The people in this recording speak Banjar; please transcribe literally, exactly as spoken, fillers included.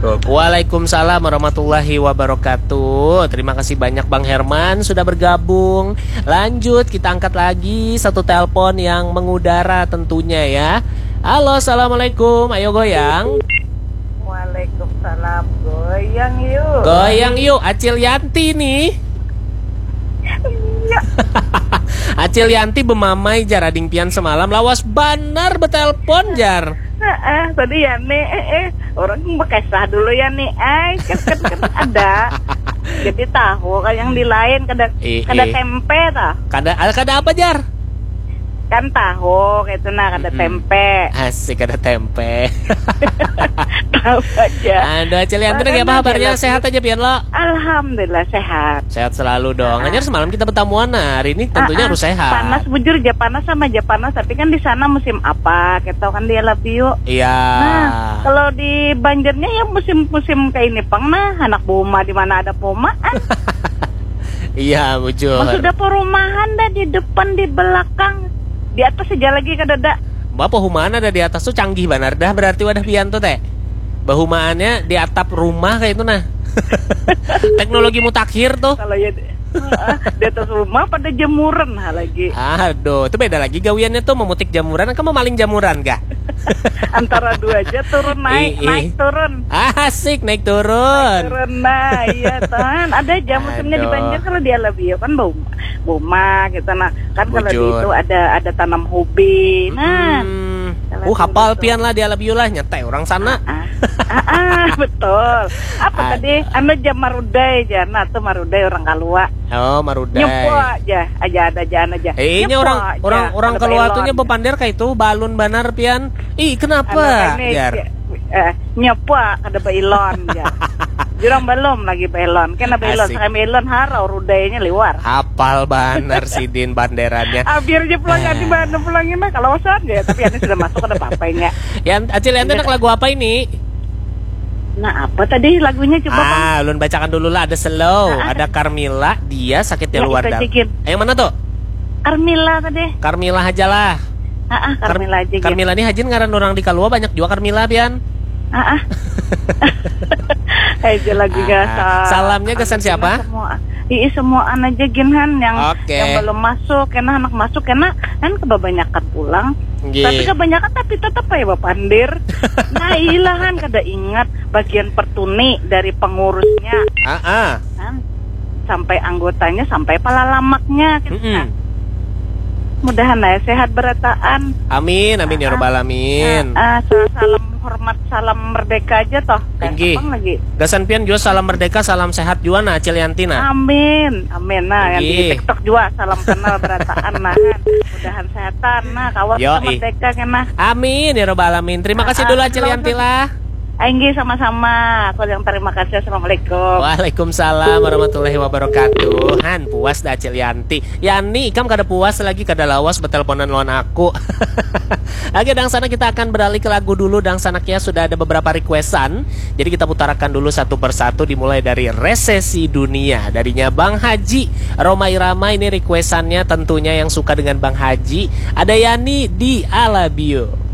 Waalaikumsalam warahmatullahi wabarakatuh. Terima kasih banyak Bang Herman sudah bergabung. Lanjut, kita angkat lagi satu telepon yang mengudara tentunya ya. Halo, assalamualaikum. Ayo goyang. Waalaikumsalam. Goyang yuk. Goyang yuk, Acil Yanti nih. Iya. Acil Yanti bemamai jar ading pian semalam, lawas banar betelpon jar. Heeh, tadi Yani, eh, eh, orang bekesah dulu Yani, ai, kan, kan, kan ada. Jadi tahu kan yang di lain kada, Ih, kada ih. Tempe tah. Kada, ada kada apa jar? Kan tahu gitu nah, kada Mm-mm. Tempe. Asik, ada tempe. Tahu aja. Aduh, Acil Yanti, Makanya apa kabarnya? Dia sehat aja pian lo? Alhamdulillah sehat. Sehat selalu dong. Ah. Hanya semalam kita bertamuan, nah hari ini tentunya Ah, ah. Harus sehat. Panas bujur aja, panas sama aja panas. Tapi kan di sana musim apa? Kita kan di Alabio. Iya. Nah, kalau di Banjarnya ya musim-musim kayak ini pang nah. Anak buma di mana ada pomaan. Iya, bujur. Maksudnya perumahan dah di depan, di belakang, di atas aja lagi kada ada. Mbak, perumahan ada di atas tuh canggih banar dah berarti wadah pian tuh teh. Bahumaannya di atap rumah kayak itu nah. Teknologi mutakhir tuh. Kalau ya di, heeh, di atas rumah pada jamuran ha lagi. Aduh, itu beda lagi gawiannya tuh memutik jamuran ke memaling jamuran kah? Antara dua aja turun naik, Ih, ih. Naik turun. Asik, naik turun. Naik turun, nah, iya, Tan. Ada aja musimnya di Aduh. Banjar kalau di Alabio kan bau, buma gitu. Nah, kan kalau di Bujur. Itu ada, ada tanam hobi. Nah, Mm-mm. Kalau Uh, di hapal itu. Pian lah di Alabio lah, nyetai orang sana. Ah, ah. Ah, ah, betul. Apa Ada. Tadi? Anu jam marudai, jana tuh marudai orang Kalua. Oh, marudai. Nyepo aja, aja ada, aja aja. Eh, ini orang, orang, orang Kalua tuh nyepo pander kayak itu, balun banar pian. Ih, kenapa? Anu, ini, Jar? Eh, nyepo kada bailon, Jar. Jurang belum lagi bailon. Kena bailon, Asik. Sekali bailon harau rudainya liwar. Hapal banar sidin banderannya. Abir aja pulang, ah. Di mana pulang ini, kalau usaha aja, tapi ini sudah masuk, ada apa-apanya. Yang Acil, yang enak lagu apa ini? Nah, apa tadi lagunya coba, Bang? Ah, ulun bacakan dulu lah. Ada slow, ah, ah. Ada Carmilla, dia sakitnya nah, luar dalam. Eh, yang mana tuh? Carmilla tadi. Carmilla aja lah. Ah, ah, Carmilla aja. Carmilla ini hajin ngaran orang di Kalua banyak juga Carmilla pian. Ah, ah. Aja lagunya ah, ah. Salamnya kesan siapa? Semua. Ii, semuaan aja gin han yang, okay. Yang belum masuk, kena anak masuk, kena kan kebanyakan pulang. Nggih. Tapi kebanyakan tapi tetap aja bapandir. Nah, ilah han kada ingat bagian pertuni dari pengurusnya. Ah, ah. Kan? Sampai anggotanya, sampai palalamaknya. Gitu, mm-mm. Kan? Mudahan lah ya sehat berataan. Amin, amin ya robbal alamin. Ah, ah, salam hormat, salam merdeka aja toh. Inggih. Gasan pian juga salam merdeka, salam sehat juga nah, Acil Yanti nah. Amin, amin nah. Inggih. Yang di TikTok juga salam kenal berataan nah. Mudahan sehatan nah, kawan kita merdeka kena. Amin ya robbal alamin. Terima kasih dulu Acil Yanti lah. Inggih, sama-sama. Aku yang terima kasih. Assalamualaikum. Waalaikumsalam warahmatullahi wabarakatuh. Han, puas dah Acil Yanti. Yani, ikam kada puas lagi, kada lawas betelponan lawan aku. Oke, dangsanak, kita akan beralih ke lagu dulu. Dangsanak ya, sudah ada beberapa requestan. Jadi kita putarakan dulu satu persatu, dimulai dari Resesi Dunia. Darinya Bang Haji, Roma Irama, ini requestannya tentunya yang suka dengan Bang Haji. Ada Yani di Alabio.